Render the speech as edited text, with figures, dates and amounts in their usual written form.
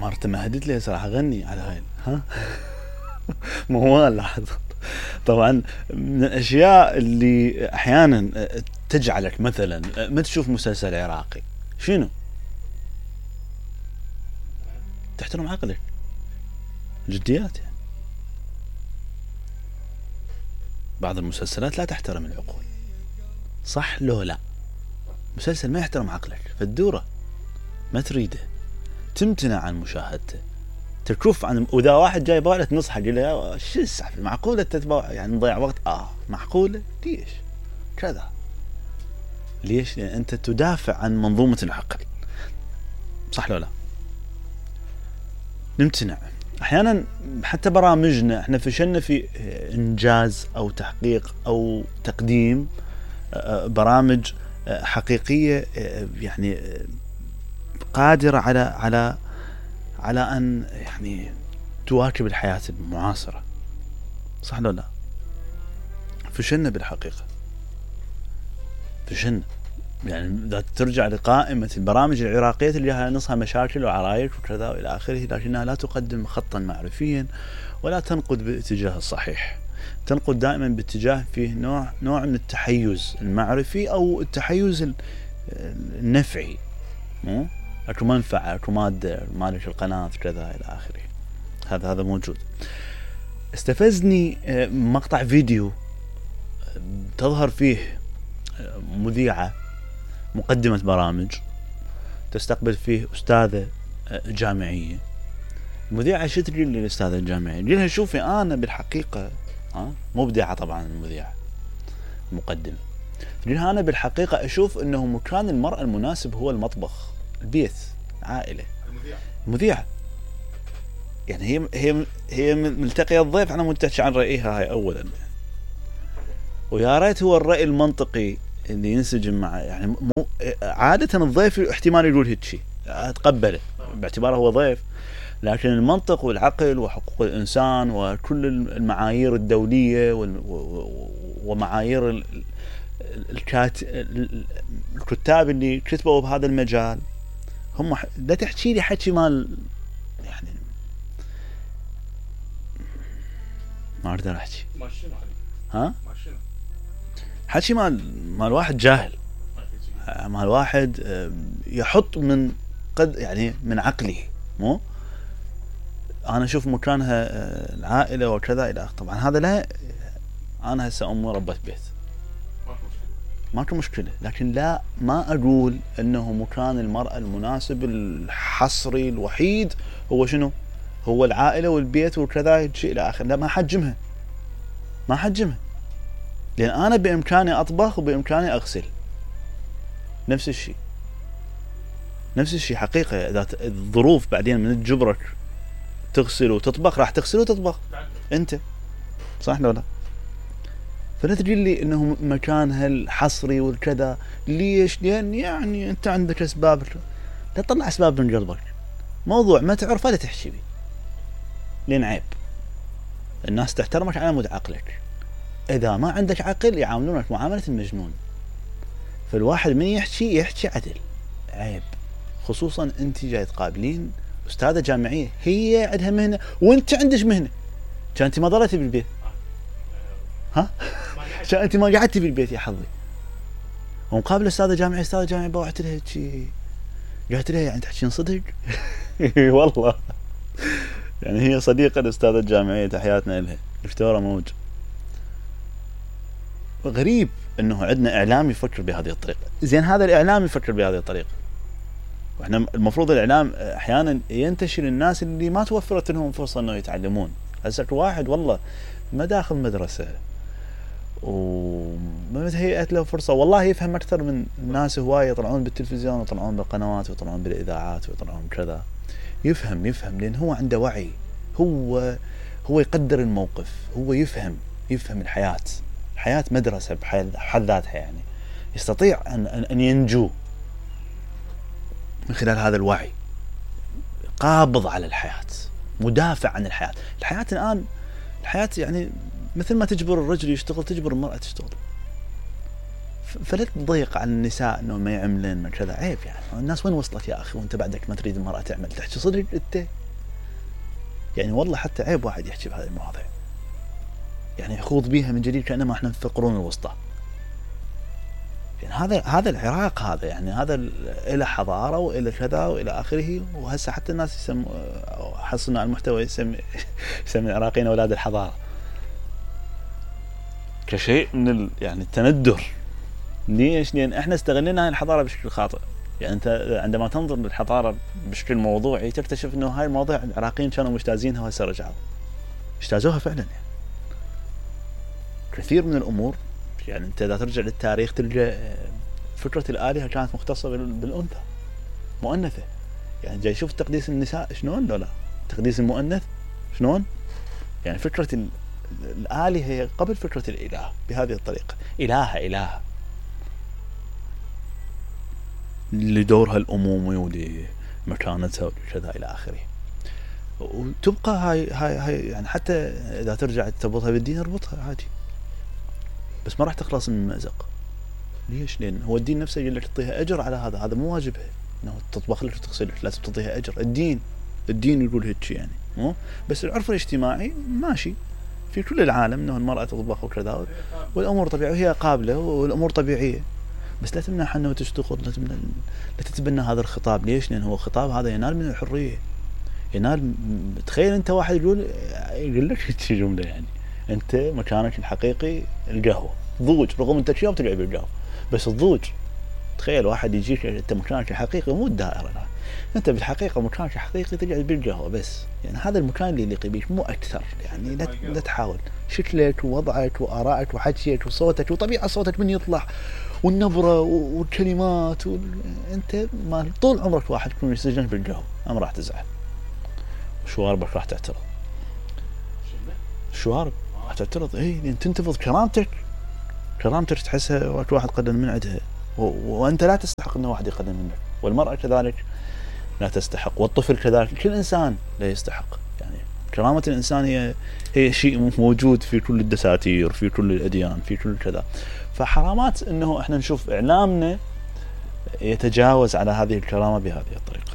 مرته مهدت لي صراحه غني على هاي ها موال لاحظ. طبعا من الاشياء اللي احيانا تجعلك مثلا ما تشوف مسلسل عراقي شنو؟ تحترم عقلك جديات يعني. بعض المسلسلات لا تحترم العقول صح لو لا؟ مسلسل ما يحترم عقلك فالدوره ما تريده تمتنع عن مشاهدته تشوف عن واذا واحد جاي بالك تنصحه تقول له شو السالفه معقوله تتبع يعني نضيع وقت معقوله ليش كذا ليش؟ لان انت تدافع عن منظومه العقل صح لو لا؟ نمتنع احيانا حتى برامجنا احنا فشلنا في انجاز او تحقيق او تقديم برامج حقيقيه يعني قادره على ان يعني تواكب الحياه المعاصره صح لو لا؟ فشلنا بالحقيقه فشلنا يعني اذا ترجع لقائمه البرامج العراقيه اللي نصها مشاكل وعرايش وكذا والى اخره لكنها لا تقدم خطا معرفيا ولا تنقد بالاتجاه الصحيح تنقد دائما باتجاه فيه نوع من التحيز المعرفي او التحيز النفعي اكو منفعه اكو ماده مالك القناه كذا الى اخره هذا موجود. استفزني مقطع فيديو تظهر فيه مذيعه مقدمه برامج تستقبل فيه استاذه جامعيه. المذيعه شو تقول للاستاذه الجامعيه؟ تقول لها شوفي انا بالحقيقه مبدعه طبعا المذيعه المقدمه تقول لها انا بالحقيقه اشوف انه مكان المراه المناسب هو المطبخ البيت العائله. المذيعه يعني هي ملتقيه الضيف على متحكي عن رايها هاي اولا ويا ريت هو الراي المنطقي اللي ينسجم مع يعني عاده الضيف احتمال يقول هيك شيء اتقبله باعتباره هو ضيف لكن المنطق والعقل وحقوق الانسان وكل المعايير الدوليه ومعايير الكتاب اللي كتبوا بهذا المجال هم لا تحكي لي حكي مال يعني ما اقدر احكي ها حكي مال واحد جاهل مال واحد يحط من قد يعني من عقله مو انا اشوف مكانها العائله وكذا الى طبعا هذا لا انا هسه امي ربة بيت ماكو مشكله لكن لا ما اقول انه مكان المراه المناسب الحصري الوحيد هو شنو هو العائله والبيت وكذا شيء الى اخره لا ما حجمها لان انا بامكاني اطبخ وبامكاني اغسل نفس الشيء حقيقه اذا الظروف بعدين من تجبرك تغسل وتطبخ راح تغسل وتطبخ انت صح ولا لا؟ فلا تقول لي انه مكانها الحصري والكذا ليش؟ لان يعني انت عندك اسباب لا تطلع اسباب من قلبك موضوع ما تعرفه لا تحكي به لان عيب الناس تحترمك على مود عقلك اذا ما عندك عقل يعاملونك معامله المجنون فالواحد من يحكي عدل عيب خصوصا انت جاي تقابلين استاذه جامعيه هي عندها مهنه وانت عندك مهنه كانت ما ضلتي بالبيت ها انت ما قعدتي بالبيت يا حظي ومقابل استاذه جامعيه بوعت لها شيء قالت لها يعني تحكين صدق والله يعني هي صديقه الاستاذه الجامعيه تحياتنا لها دكتوره موج. غريب انه عندنا اعلام يفكر بهذه الطريقه زين هذا الاعلام يفكر بهذه الطريقه واحنا المفروض الاعلام احيانا ينتشر الناس اللي ما توفرت لهم فرصه انه يتعلمون. هسه واحد والله ما داخل مدرسه وما تهيأت له فرصه والله يفهم اكثر من الناس هوايه يطلعون بالتلفزيون ويطلعون بالقنوات ويطلعون بالاذاعات ويطلعون كذا يفهم لان هو عنده وعي هو يقدر الموقف هو يفهم الحياه مدرسه بحد ذاتها يعني يستطيع ان ينجو من خلال هذا الوعي قابض على الحياه مدافع عن الحياه الان الحياه يعني مثل ما تجبر الرجل يشتغل تجبر المرأة تشتغل فلا تضيق على النساء انه ما يعملن ما كذا، عيب يعني. الناس وين وصلت يا اخي وانت بعدك ما تريد المرأة تعمل؟ تحكي صدق انت يعني؟ والله حتى عيب واحد يحكي بهذه المواضيع، يعني يخوض بيها من جديد كأنما احنا في القرون الوسطى. يعني هذا العراق، هذا يعني هذا إلى حضارة وإلى كذا وإلى آخره. وهسه حتى الناس حصلنا على المحتوى يسمي العراقيين أولاد الحضارة كشيء من يعني التندر. ليش؟ لأن احنا استغلنا هاي الحضارة بشكل خاطئ. يعني انت عندما تنظر للحضارة بشكل موضوعي تكتشف انه هاي المواضيع العراقيين كانوا مجتازينها وهسه رجعوا اجتازوها فعلا. يعني كثير من الأمور، يعني انت اذا ترجع للتاريخ تلقى فكرة الآلهة كانت مختصة بالأنثى مؤنثة. يعني جاي شوف تقديس النساء شلون، لا تقديس المؤنث شلون. يعني فكرة الآلهة هي قبل فكرة الإله بهذه الطريقة. إلهة لدورها الأمومي ولمكانتها وكذا إلى آخره. وتبقى هاي يعني حتى إذا ترجع تربطها بالدين اربطها عادي، بس ما راح تخلص من المأزق. ليش؟ لأن هو الدين نفسه يقول لك تعطيها أجر على هذا مو واجبها إنه تطبخ لك وتغسل لك، لازم تعطيها أجر. الدين يقول هيك يعني. مو بس العرف الاجتماعي ماشي في كل العالم إنه المرأة تطبخ وكذا والأمور طبيعية وهي قابلة والأمور طبيعية، بس لا تمنعها إنه تشتغل، لا تتبنى هذا الخطاب. ليش؟ لأن هو الخطاب هذا ينال من الحرية، ينال. تخيل أنت واحد يقول لك هيك جملة، يعني أنت مكانك الحقيقي القهوة ضوج، رغم أنت شيء بتلعب بالقهوة بس الضوج. تخيل واحد يجيك أنت مكانك الحقيقي مو الدائرة، لا أنت بالحقيقة مكانك الحقيقي تقعد بالقهوة بس. يعني هذا المكان اللي يليق بيك مو أكثر. يعني لا تحاول شكلك ووضعك وآرائك وحكيك وصوتك وطبيعة صوتك من يطلع والنبرة والكلمات أنت ما طول عمرك واحد تكون يسجن بالقهوة أم راح تزعل وشواربك راح تعترض. الشوارب راح تعترض لأن تنتفض كرامتك تحسها واحد قدم من عندها وأنت لا تستحق أنه واحد يقدم منك. والمرأة كذلك لا تستحق، والطفل كذلك، كل إنسان لا يستحق. يعني كرامة الإنسان هي شيء موجود في كل الدساتير، في كل الأديان، في كل كذا. فحرامات أنه إحنا نشوف إعلامنا يتجاوز على هذه الكرامة بهذه الطريقة.